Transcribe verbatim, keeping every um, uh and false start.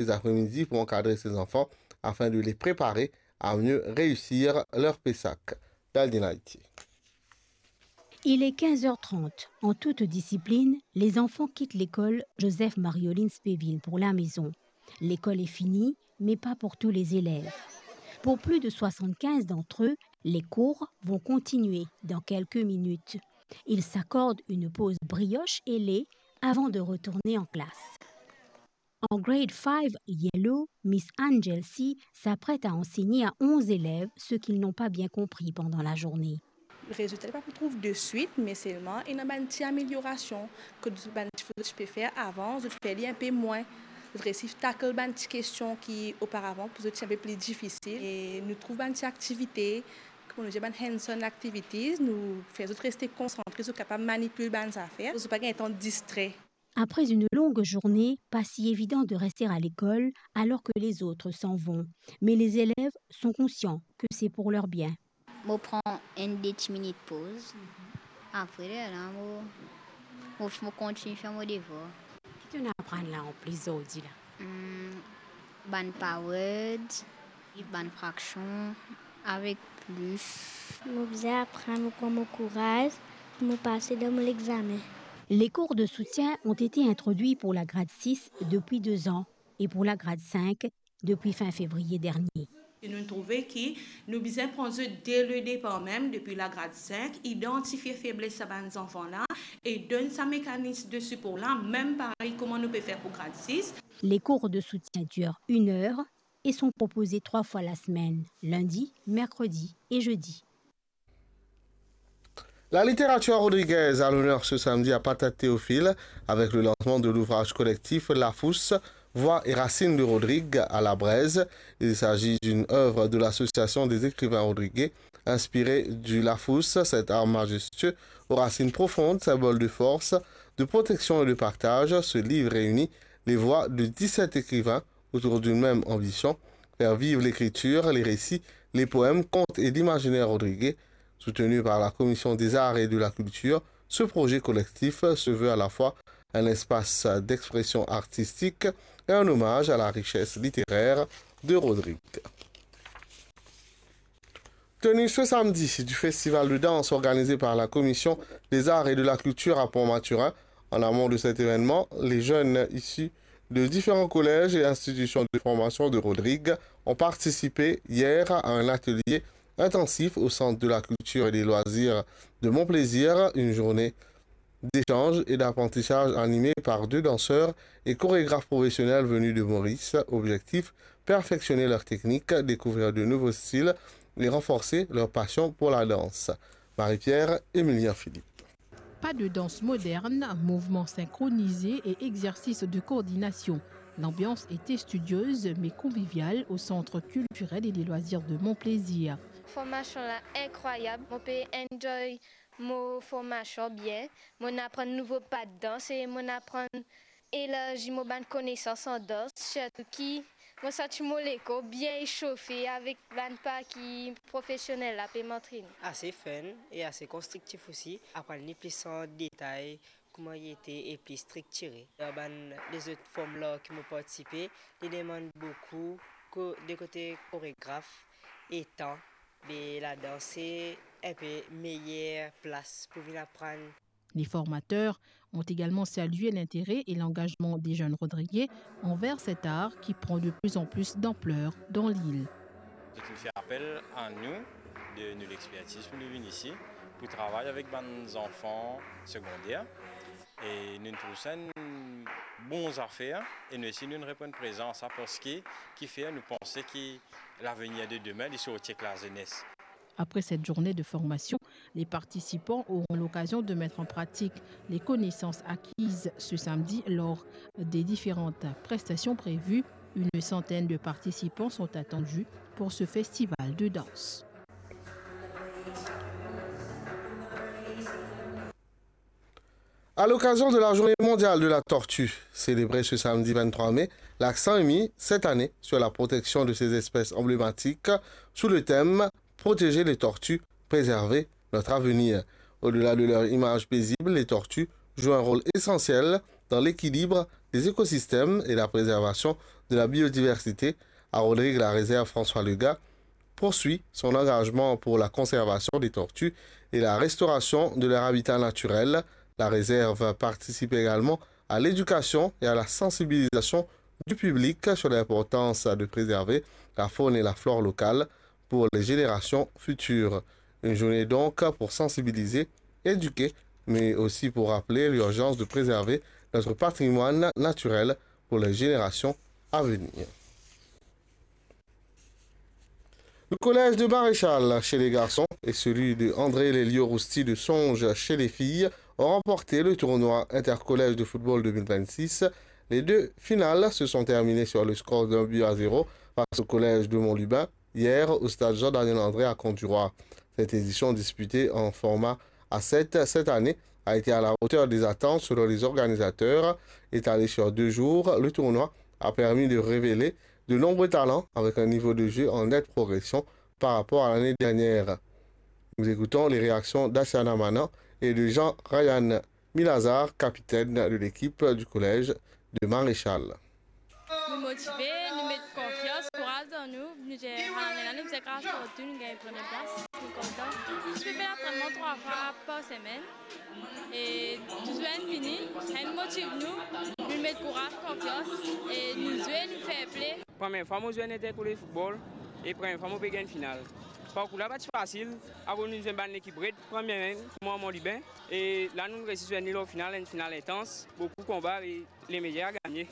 les après-midi pour encadrer ces enfants afin de les préparer à mieux réussir leur PESAC. Daldin Haïti. Il est quinze heures trente. En toute discipline, les enfants quittent l'école Joseph Mariolines Péville pour la maison. L'école est finie, mais pas pour tous les élèves. Pour plus de soixante-quinze d'entre eux, les cours vont continuer dans quelques minutes. Ils s'accordent une pause brioche et lait avant de retourner en classe. En grade five Yellow, Miss Angel C s'apprête à enseigner à onze élèves ce qu'ils n'ont pas bien compris pendant la journée. Rezilta li pa pou trouv deswit, me selman ena bann ti ameliorasion ki bann tifi ti pe fer avan, zot fer li inpe mwin. Zot resi tackle bann ti kestion ki oparavan pou zot ti inpe pli difisil. E nou trouv bann ti aktivite, kouma nou dir, bann hands-on activities, nou fer zot reste konsantre, zot kapav manipil bann zafer, zot pa gagn tan distrer. Après une longue journée, pas si évident de rester à l'école alors que les autres s'en vont. Mais les élèves sont conscients que c'est pour leur bien. Mo pran enn de ti minit poz. Apre lerla mo, mo, mo kontign fer mo devwar. Ki to'nn aprann la anplis zordi la? Hmm, bann pawad, bann fraksion, avek plis. Mo bizin aprann mo pran mo kouraz pou mo pase dan mo lexame. Les cours de soutien ont été introduits pour la grade six depuis deux ans et pour la grade cinq depuis fin février dernier. E nou trouve ki nou bizin pran zot de le depar mem, depi lagrad sink, idantifie febles sa bann zanfan la e donn sa mekanis de sipor la, mem parey kouma nou pe fer pou grad sis. Les cours de soutien durent une heure et sont proposés trois fois la semaine, lundi, mercredi et jeudi. La littérature rodriguaise à l'honneur ce samedi à Patate Théophile avec le lancement de l'ouvrage collectif Lafous, Voix et racines de Rodrigue à la Braise. Il s'agit d'une œuvre de l'Association des écrivains rodriguais, inspirée du Lafous, cet arbre majestueux aux racines profondes, symbole de force, de protection et de partage. Ce livre réunit les voix de dix-sept écrivains autour d'une même ambition, faire vivre l'écriture, les récits, les poèmes, contes et l'imaginaire rodriguais. Soutenu par la Commission des Arts et de la Culture, ce projet collectif se veut à la fois un espace d'expression artistique et un hommage à la richesse littéraire de Rodrigue. Tenue ce samedi du festival de danse organisé par la Commission des Arts et de la Culture à Pont-Mathurin. En amont de cet événement, les jeunes issus de différents collèges et institutions de formation de Rodrigue ont participé hier à un atelier intensif au Centre de la Culture et des Loisirs de Mont Plaisir, une journée d'échange et d'apprentissage animée par deux danseurs et chorégraphes professionnels venus de Maurice. Objectif, perfectionner leur technique, découvrir de nouveaux styles et renforcer leur passion pour la danse. Marie-Pierre, Emilien Philippe. Pas de danse moderne, mouvements synchronisés et exercices de coordination. L'ambiance était studieuse mais conviviale au Centre culturel et des loisirs de Mont Plaisir. Formasion la inkrwayab, mo pe enjoy mo formasion bien, mo'nn aprann nouvo pa dans e mo'nn aprann elarzi mo bann konesans an dans, sirtou ki mo santi mo lekor bien esofe avek bann pa ki profesionel la pe mantrene. Ase fun e ase konstriktif osi, aprann li plis an detay kouma li ete e pli striktire. Dan bann lezot form la ki mo partisipe, li demann boukou ko-, de kote koregraf e tan, be ladans se enpe meyer plas pou vinn aprann. Les formateurs ont également salué l'intérêt et l'engagement des jeunes Rodriguais envers cet art qui prend de plus en plus d'ampleur dans l'île. Zot inn fer apel a nou, de nou lexpertiz pou nou vinn isi pou travay avek bann zanfan segonder. E nou trouv sa enn bon zafer e nou osi nou reponn prezan a sa, parski kifer nou panse ki lavenir de demin li sorti ek lazenes. Après cette journée de formation, les participants auront l'occasion de mettre en pratique les connaissances acquises ce samedi lors des différentes prestations prévues. Une centaine de participants sont attendus pour ce festival de danse. À l'occasion de la Journée mondiale de la tortue, célébrée ce samedi vingt-trois mai, l'accent est mis cette année sur la protection de ces espèces emblématiques sous le thème Protéger les tortues, préserver notre avenir. Au-delà de leur image paisible, les tortues jouent un rôle essentiel dans l'équilibre des écosystèmes et la préservation de la biodiversité à Rodrigues-la-Réserve François Legain poursuit son engagement pour la conservation des tortues et la restauration de leur habitat naturel. La réserve participe également à l'éducation et à la sensibilisation du public sur l'importance de préserver la faune et la flore locale pour les générations futures. Une journée donc pour sensibiliser, éduquer, mais aussi pour rappeler l'urgence de préserver notre patrimoine naturel pour les générations à venir. Le collège de Maréchal chez les garçons et celui de André Lelio Rousti de Songe chez les filles ont remporté le tournoi intercollège de football deux mille vingt-six. Les deux finales se sont terminées sur le score d'un but à zéro face au collège de Mont-Lubin hier au stade Jean-Daniel André à Courbevoie. Cette édition disputée en format à sept cette année a été à la hauteur des attentes selon les organisateurs. Étalé sur deux jours, le tournoi a permis de révéler de nombreux talents avec un niveau de jeu en nette progression par rapport à l'année dernière. Nous écoutons les réactions d'Asiana Manan et de Jean Ryan Milazar, capitaine de l'équipe du collège de Maréchal. Nou motive, nou met konfians, kouraz dan nou. Nou dir, alannane la, nou bizin kraz partou, nou gagn premie plas, nou kontan. Nou pe fer lantrennman trwa fwa par semenn. E tou zwenn vini, enn motiv nou, nou met kouraz, konfians, e nou zwe, nou fair play. Premie fwa mo zwe enn intercollège football, e premie fwa mo pe gagn final. Parkour la pa ti fasil, akoz nou zwenn bann lekip red, premie mem, kouma Mont-Lubin, e la nou resi zwenn li lor final, enn final intans, boukou konba, e le meyer a gagne.